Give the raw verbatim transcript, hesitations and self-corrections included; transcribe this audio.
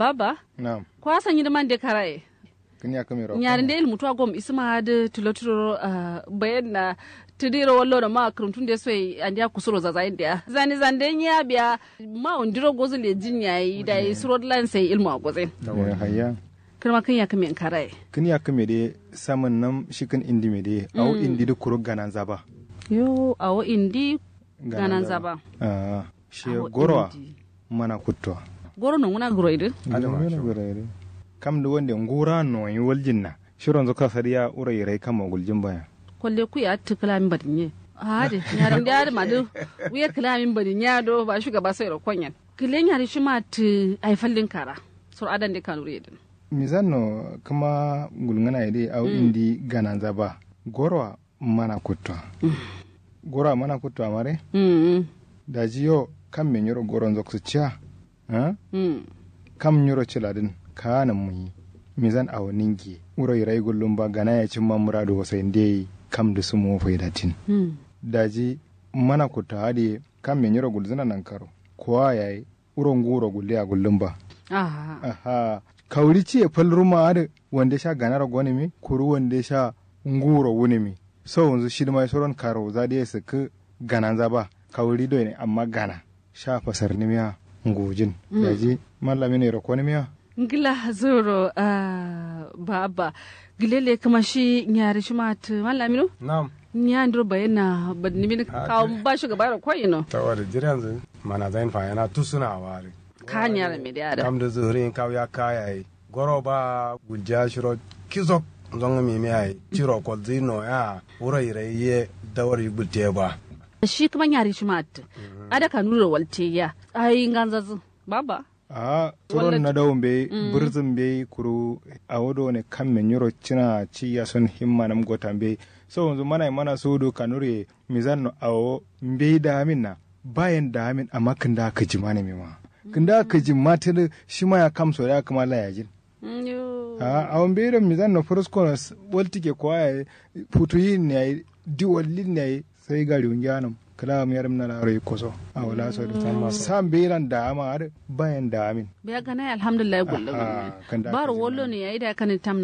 Abba. Na'am. Kwa sanyi dǝ man de karaye. Kǝn ya kǝme ro nyari nde ilmu tuwa gom isǝma adǝ tulo tulo. Bayan na tǝdiro wallo no ma kǝrǝmtun de soyi andiya kusuro zazayin diya zani zande nyi ya biya. Ma undiro gozu lejin yayi dayi suro dǝlan sai ilmu a gozin. Hayya. Kǝrma kǝn ya kǝme nkaraye. Kǝn ya kǝme de samǝn nam shi kǝn indi me de awo indi dǝ kuru gananza ba. Yo awo indi gananza ba. Shi gorowa mana kuttowa. Goro nonguna guroi dǝ. Kam dǝ wande ngura noyi waljin na. Shironzu kasadiya wuro yirai kamma guljin baya. Kolle kuya attǝ kǝlamin badinye. Ahade nyarinde adǝ madǝ. Wuye kǝlamin badinye ado ba shugaba soiro konyen. Kǝle nyari shima attǝ ai fallin kara. Suro adande kanuri yedǝn. Misanno kǝma gulngǝna yede awo indi gananza ba. Gorowa mana kuttowa. Gorowa mana kuttowa mare. Daji yo kamme nyiro goronzo kǝsǝcciya. Kam nyiro cǝladǝn kaanǝm muyi. Misan awo ningiye wuro yirai gullum ba gana yayi cǝmma muradu wasai ndeyi. Kam dǝ sǝmo faidatin. Daji mana kuttowa adǝ ye kamme nyiro gulzǝna nankaro. Kowa yayi wuro nguro gulliya gullum ba. Ahha. Kawuri ciye fal ruma adǝ wande sha ganaro gonǝmi kuru wande sha nguro wunǝmi. Sowunzu shidǝma ye suron karowuza dǝ ye sǝkkǝ gananza ba. Kawuri doyene amma gana sha fasarnimiya ngujin. Daji mallamin yero konimiya. Ngla zoro. Ba abba gile le kǝma shi nyari shima attǝ mallamino. Nam. Nyandiro bayen na badnimin kawo ba shugaba yero koyino. Tawada jiranzǝ mana zain fayana tusuna wari. Ka nyara me de ada kam dǝ zǝrin kawu ya kayayi. Goro ba guljiya shiro kizok nzongǝ mimi yayi ciro kolzǝ no ya. Wuro yirai ye dawar yi gultiye ba. Shi kǝma nyari shima attǝ ada kanuri ro waltiye ya. Ayi nganzazǝ baba. Ahh suron nadawu mbeyi bǝrzǝm mbeyi kuru. Awo done kamme nyiro cina ciya son himma nam gota mbeyi. Sowonzu manayi mana suwudu kanuriye. Mizanno awo mbeyi daamin na. Bayen daamin amma kǝnda kǝjimanǝmi ma. Kǝnda kǝjimma tǝdǝ shima ya kamso da kǝma layajin. Ahh awo mbeyi do mizanno fǝrǝskono. Waltike kowa yayi futuyin yayi. Diwollin yayi. Sai gariwu ngiyanǝm kǝla miyarǝm na laro yikko so. Awo laso dǝ sa mbeyilan daama adǝ. Bayen daamin. Biya ganaye alhamdullahi gullu gullu. Baro wallo ne yayi da kanin tamna.